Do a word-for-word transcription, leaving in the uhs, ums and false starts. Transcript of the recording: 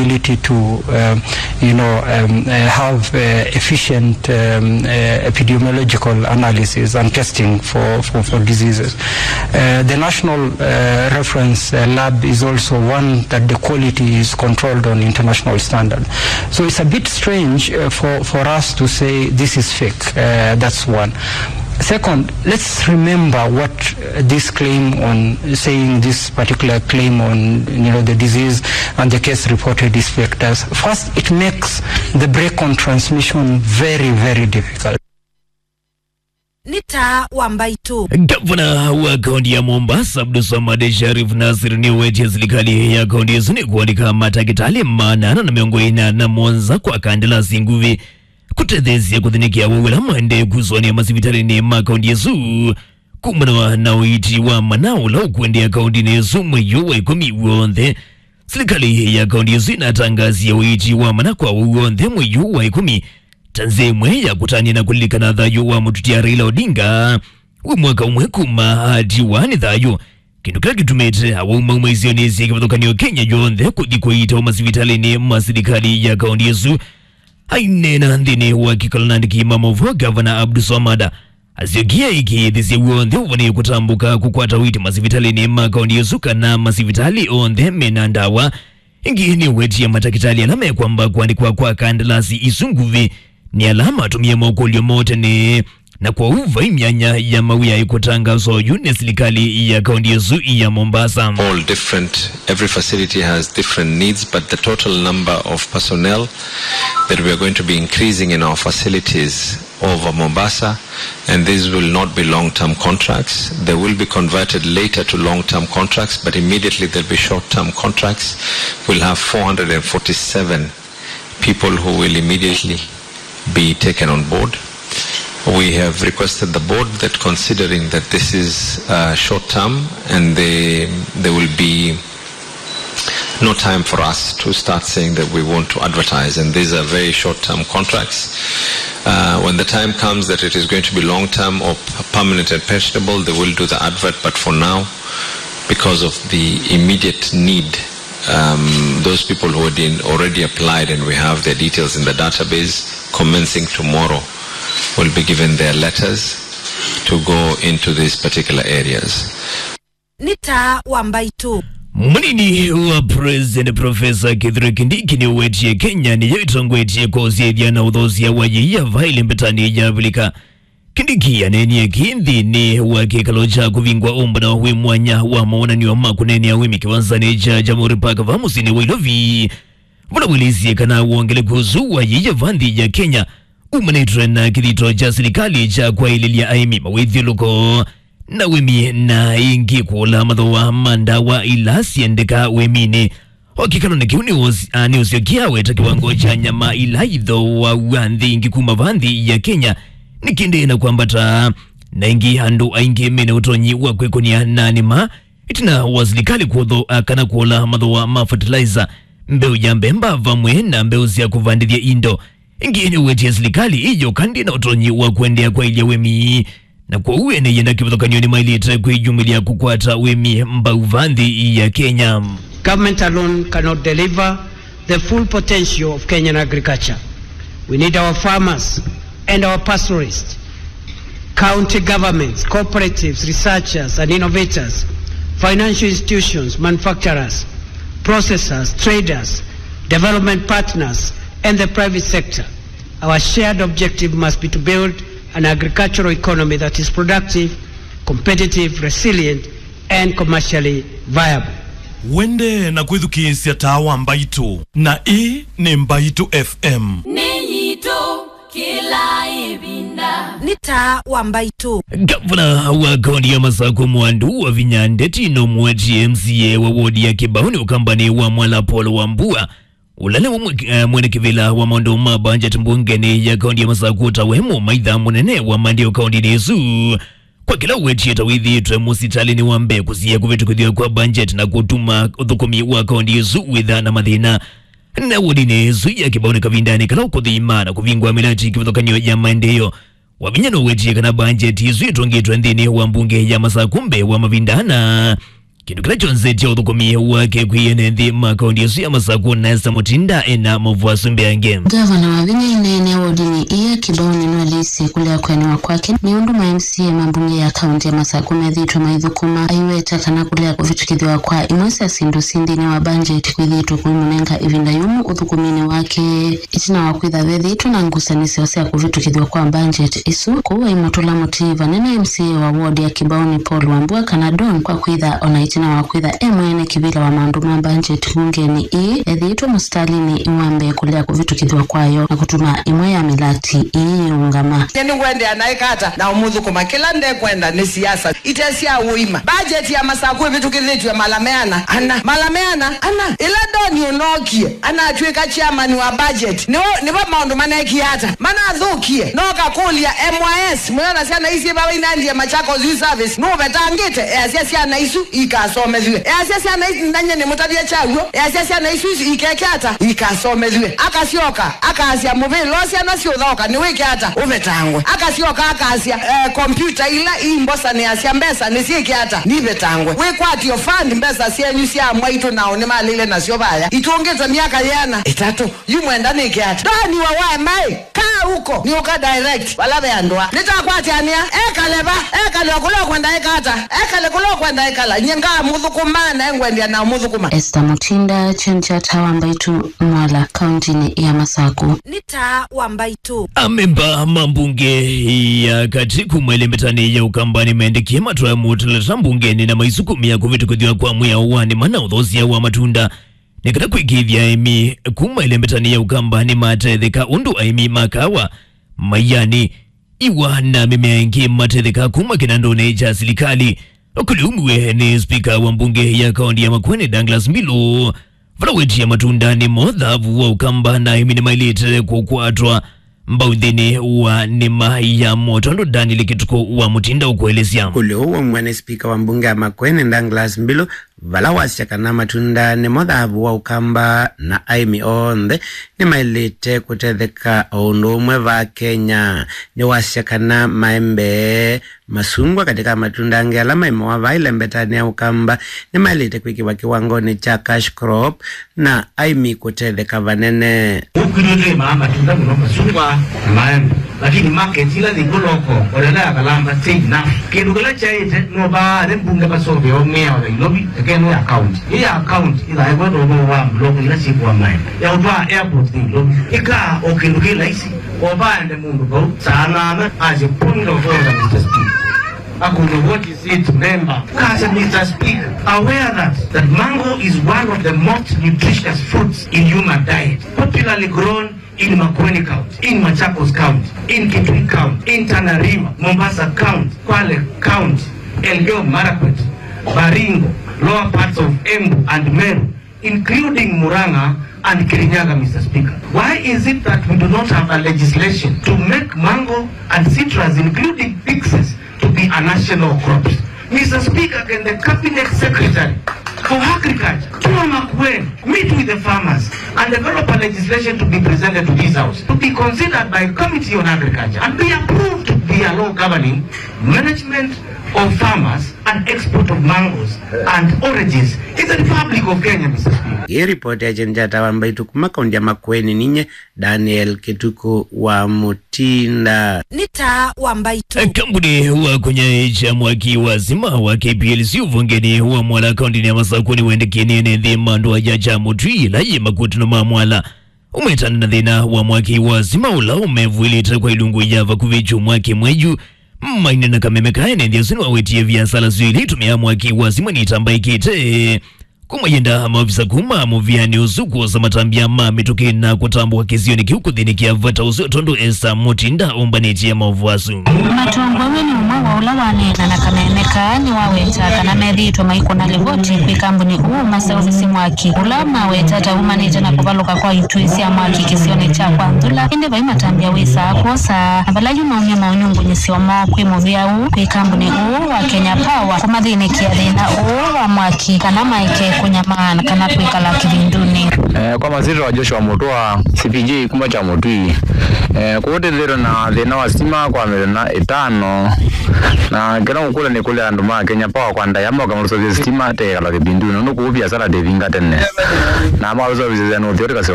ability to, um, you know, um, uh, have uh, efficient um, uh, epidemiological analysis and testing for, for, for diseases. Uh, the national uh, reference uh, lab is also one that the quality is controlled on international standard. So it's a bit strange uh, for, for us to say this is fake. Uh, that's one. Second, let's remember what uh, this claim on saying this particular claim on, you know, the disease and the case reported is fake does. First, it makes the break on transmission very, very difficult. Nĩ taa wa mbaitũ. Gavana wa kaunti ya Mombasa, Abdulswamad Sharif Nasir, nĩwetie silikalĩ ya kaunti ĩsu nĩkũandĩka matakĩtalĩ maana ana na mĩongo ĩna na mũonza kwa kandalasi nguvĩ kũtetheesya kũthĩnĩkĩa awau ala maendee kũsũanĩa masivitalĩnĩ ma kaunti ĩsu kumana na ũiiti wa mana ũla ũkũendeea kauntinĩ ĩsu mwei ũyũ wa ĩkũmi w'onthe. Silikalĩ ya kaunti ĩsu ĩnatangaasie ũiiti wa mana kwa awau onthe mwei ũyũ wa ĩkũmi ta nzĩa ĩmwe ya kũtanĩa na kũlilikana thayũ wa mũtutia Raila Odinga wĩ mwaka ũmwe kuma atiwa nĩ thayũ, kĩndũ kĩla kĩtumĩte awau mauma isionĩ sya kĩvathũkany'o Kenya yonthe kũthi kũiitawa masivitalĩnĩ ma silikalĩ ya kaunti ĩsu. Aineena nthĩnĩ wa kĩkalo na andĩki ma maũvoo, Gavana Abdulswamad asyokie aĩkĩĩthĩsye w'onthe ũvonee kũtambũka kũkwata ũiiti masivitalĩnĩ ma kaunti ĩsu kana masivitalĩ onthe mena ndawa. Ĩngĩ nĩwetie matakĩtalĩ ala mekwamba kũandĩkwa kwa kandalasi isu nguvĩ nĩ ala matũmie mokũlyo moo tene, na kwoou vai myanya ya mawĩa ĩkũtangaaswa oyu nĩ silikalĩ ya kaunti ĩsu ya Mombasa. All different, every facility has different needs, but the total number of personnel that we are going to be increasing in our facilities over Mombasa, and these will not be long-term contracts. They will be converted later to long-term contracts, but immediately they'll be short-term contracts. We'll have four hundred and forty-seven people who will immediately be taken on board. We have requested the board that, considering that this is uh, short-term and they, there will be no time for us to start saying that we want to advertise, and these are very short-term contracts. Uh, when the time comes that it is going to be long-term or p-, permanent and pensionable, they will do the advert, but for now, because of the immediate need, um, those people who had been already applied and we have their details in the database, commencing tomorrow, will be given their letters to go into these particular areas. Nĩ taa wa mbaitũ. Mũnini wa President Professor Kithure Kindiki nĩwetie Kenya nĩyo ĩtongoetye kũsyaĩthya na ũthoosya wa yĩia vaili mbetanĩ ya Avilika. Kindiki aneenie kĩĩ nthĩnĩ wa kĩkalo kya kũvingwa ũmbano wĩ mwanya wa mawonany'o ma kũneenea ũĩmi kĩwanzanĩ kya Jamhuri Park va mũsyĩnĩ wa Ilovi, vala wĩlĩsye kana wongeleku ũsu wa yĩia va nthĩ ya Kenya umanĩtwe na kĩthito kya silikalĩ kya kwaĩlĩlya aĩmi mawĩthyũlũko na ũĩmi, na ĩngĩ kũla mathooa ma ndawa ila syendekaa ũĩminĩ. O kĩkalonĩ kĩu nĩũs-, a, nĩũsyokie aweta kĩwango kya nyama ila ithooawa nthĩ ingĩ kuma va nthĩ ya Kenya nĩkĩndĩe na kwambata, na ĩngĩ andũ aingĩ mena ũtonyi wa kwĩkũnĩa na nĩma ĩtina wa silikalĩ kũtho-, a, kana kũla mathooa ma fertilizer, mbeũ ya mbemba vamwe na mbeũ sya kũvandĩthya indo. Ĩngĩ nĩwetie silikalĩ ĩyoka ndĩ na ũtonyi wa kũendeea kwaĩlya ũĩmi, na kwoou ene yenda kĩvathũkany'o nĩmaĩlĩte kwĩyumĩlya kũkwata ũĩmi mbau va nthĩ ya Kenya. Government alone cannot deliver the full potential of Kenyan agriculture. We need our farmers and our pastoralists, county governments, cooperatives, researchers and innovators, financial institutions, manufacturers, processors, traders, development partners, and the private sector. Our shared objective must be to build an agricultural economy that is productive, competitive, resilient, and commercially viable. Wende na kwĩthukĩĩsya taa wa Mbaitũ, na ĩĩ nĩ Mbaitũ F M. Nĩ yitũ kĩla ĩvinda. Nĩ taa wa Mbaitũ. Gavana wa kaunti ya Masakũ Mwandu Wavinya Ndeti nũmũetie M C A wa wodi ya Kĩbaũnĩ Ũkambanĩ wa Mwala Paul Wambua, ũla nĩwe mwe-, eh, mwene kĩvĩla wa maũndũ ma budget mbungenĩ ya kaunti ya Masakũ, ta we mũmaitha mũnene wa maendeeo kauntinĩ ĩsu, kwa kĩla ũwetie ta wĩthĩĩtwe mũsitalĩnĩ wa mbee kũsiĩa kũvĩtũkĩthw'a kwa budget na kũtuma ũthũkũmi wa kaunti ĩsu wĩthaa na mathĩna. Na wodinĩ ĩsu ya Kĩbaũnĩ kavindanĩ kala ũkũthima na kũvingwa mĩlati kĩvathũkany'o ya maendeeo, Wavinya nũwetie kana budget ĩsu ĩtũngĩtwe nthĩnĩ wa mbunge ya Masakũ mbee wa mavinda ana Kĩndũ kĩla kyonzetye ũthũkũmi wake kwĩ ene nthĩ ma kaũntĩ ĩsu ya Masakũ na Esther Mutinda ena maũvoo asu mbeange. Ngavana wa vinya inene wodinĩ ĩĩ ya Kibaoni nĩwaleisye kũlea kũenewa kwake nĩ ũndũ ma M C A ma mbunge ya kaũntĩ ya Masakũ methĩĩtwe maithũkũma, aiweta kana kũlea kũvĩtũkĩthw'a kwa imwe sya syĩndũ syĩ nthĩnĩ wa mbanjeti kwĩthĩĩtwe kũimũnenga ĩvinda yũmũ ũthũkũminĩ wake. Ĩtina wa kwĩtha vethĩĩtwe na ngusanĩsyo sya kũvĩtũkĩthw'a kwa mbanjeti ĩsu, kũu aimũtũla mũtĩĩ vanene M C A wa ward ya Kibaoni Paul Wambua kana Don kwa kwĩtha ona ĩtina wa kwĩtha e mwene kĩvĩla wa maũndũ ma mbanjeti mbungenĩ ĩĩ, ethĩĩtwe mũsitalinĩ wa mbee kũlea kũvĩtũkĩthw'a kwayo na kũtuma ĩmwe ya mĩlati ĩĩ yĩũngama. Nye nĩngwendea naĩ kata na ũmũthũkũma kĩla ndekwenda nĩ siasa ite sya ũima. Mbanjeti ya Masakũ ĩvĩtũkĩthĩtw'e mala meana ana. Mala meana ana. Ĩla Don ũnookie, anatw'ĩka chairman wa budget, nĩvo, nĩvo maũndũ manekie ata? Manathũkie. No kakũlya M Y S, mũyona syana isu syĩ vau inandie Machakos Youth Service, nũvetangĩte? Easya syana isu ikasomethw'e. Easya syana isu, nanye nĩmũtavya kyaw'o, easya syana isu ikeke ata? Ikasomethw'e. Akasyoka, akasya mũvĩla ũũ syana syũthaũka nĩwĩke ata? Ũvetangwe. Akasyoka akasya, eh, kompyuta ila imbosanĩasya mbesa nĩsyĩke ata? Nivetangwe. Wĩkwatyo fund mbesa syenyu sya mwaitũ nao nĩmalĩle nasyo vaya. Itũngĩtwe myaka yĩana? Ĩtatũ. Yu mwenda nĩke ata? Ndaniwa wa maĩ. Kaa huko. Nĩũka direct. Vala ve andũ a. Nĩtakwatyanĩa. Ekale va. Ekale o kũla ũkwenda eka ata. Ekale kũla ũkwenda ekala. Nye ngamũthũkũma na engwendea na ũmũthũkũma. Esther Mutinda, Kyeni kya Taa wa Mbaitũ, Mwala, kaũntĩnĩ ya Masakũ. Nĩ Taa wa Mbaitũ. Amemba ma mbunge ya katĩ kuma ĩlembetanĩ ya Ũkamba nĩmendĩkie matwae mũtalata mbungenĩ na maisukumĩa kũvĩtũkĩthw'a kwa mwĩao wa nĩma na ũthosya wa matunda nĩ kana kwĩkĩĩthya aĩmi kuma ĩlembetanĩ ya Ũkamba nĩmatetheka ũndũ aĩmi ma kaawa, maiani, iwa na mĩmea ĩngĩ matetheka kuma kĩnandũnĩ kya silikalĩ. Ũkũlyo ũmwe nĩ spika wa mbunge ya kaũntĩ ya Makueni Douglas Mbilu, vala wetie matunda nĩmo thavu wa Ũkamba na aĩmi nĩmaĩlĩte kũkwatwa mbau nthĩnĩ wa nĩma yamo, tondũ Daniel Kĩtukũ wa Mutinda ũkũelesya. Ũkũlyo ũũ waumw'a nĩ spika wa mbunge ya Makueni Douglas Mbilu, vala wasya kana matunda nĩmo thavu wa Ũkamba na aĩmi onthe nĩmaĩlĩte kũtetheka o ũndũ ũmwe vaa Kenya. Nĩwasya kana maembe, masungwa katĩ ka matunda angĩ ala maimawa vaa ĩlembetanĩ ya Ũkamba nĩmaĩlĩte kwĩkĩwa kĩwangonĩ kya cash crop na aĩmi kũtetheka vanene. Ũkwĩlĩlĩmaa matunda mũno masungwa na maembe, lakini market ila yĩkũ loko olela ya Kalamba stay enough. Kĩndũ kĩla kyaĩte no vaa nĩ mbunge masoveo mĩao ya Ilovi, eke nĩ ya county. Ĩ ya county ĩthaĩwe ndovo wa mloko ila syĩkũwa maembe ya ũtwaa airport nĩ Ilovi. Ĩkaa o kĩndũ kĩ laisi. Ovaende mũndũ vau saa nana as a point of order, Mister Speaker. Akũlya, what is it, member? Kasa, Mister Speaker, aware that, that mango is one of the most nutritious fruits in human diet, popularly grown in Makueni County, in Machakos County, in Kitui County, in Tana River, Mombasa County, Kwale County, Elgeyo Marakwet, Baringo, lower parts of Embu and Meru, including Murang'a and Kirinyaga, Mister Speaker. Why is it that we do not have a legislation to make mango and citrus, including pixies, to be a national crops? Mister Speaker, can the cabinet secretary for agriculture, Tua Makueni, meet with the farmers and develop a legislation to be presented to this house, to be considered by committee on agriculture and be approved to be a law governing management of farmers and export of mangoes and oranges in the Republic of Kenya, Mister Speaker. Ĩ ripoti ya Kyeni kya Taa wa Mbaitũ kuma kaũntĩ ya Makueni, ninye Daniel Kĩtukũ wa Mutinda. Nĩ Taa wa Mbaitũ. Kambuni wa kũnyaĩĩkya mwaki wa sima wa K P L C ũvongenĩ wa Mwala kaũntĩnĩ ya Masakũ nĩwendekanie nĩ nthĩ ma ndũa ya Kyamũtwi ĩla yĩ makutano ma Mwala. Ũmetana na thĩna wa mwaki wa sima ũla ũmevw'ĩlĩte kwa ilungu ya vakuvĩ kyumwa kĩmwe yu. Maine na kameme kaene nthĩ ũsu nĩwawetie viasala syoo ila itũmĩaa mwaki wa sima nĩitambaĩkĩte. Kuma yenda maovisa kuma mũvĩanĩ ũsu kwosa matambya ma mĩtũkĩ na kũtambũka kĩsionĩ kĩu kũthĩnĩkĩa vata ũsu, tondũ Esther Mutinda ũmbanĩtye maũvoo asu. Matongoew'e nĩ ũmwe wa ũla waneena na kameme kaa nĩwaweta kana methĩĩtwe maikũna livoti kwĩ kambuni ũũ maseũvĩsye mwaki ũla maweta ta umanĩte na kũvalũka kwa ituĩ sya mwaki kĩsionĩ kya Kwa Nthula, ĩndĩ vai matambya wĩsaa kwosa, na vala yu maumya maũnyungunyĩsyo moo kwĩ mũvĩa ũũ kwĩ kambuni ũũ wa Kenya Power kũmathĩnĩkĩa thĩna ũũ wa mwaki kana maeke kũnyamaa kana kwĩkala kĩvindunĩ. Eh, kwa masyĩtwa Joshua Mutua, C P J kuma Kyamũtwi. Eh, kũu tĩthĩtwe na thĩna wa sitima kwa mĩthenya ĩtano, na kĩla ngũkũlya nĩ kũlya andũ ma Kenya Power kwa ndaĩa moke matũseũvye sitima tũikala kĩvindunĩ, nũndũ kũu viasala tĩvinga tene, na matũseũvĩsya nũthio tũkaseo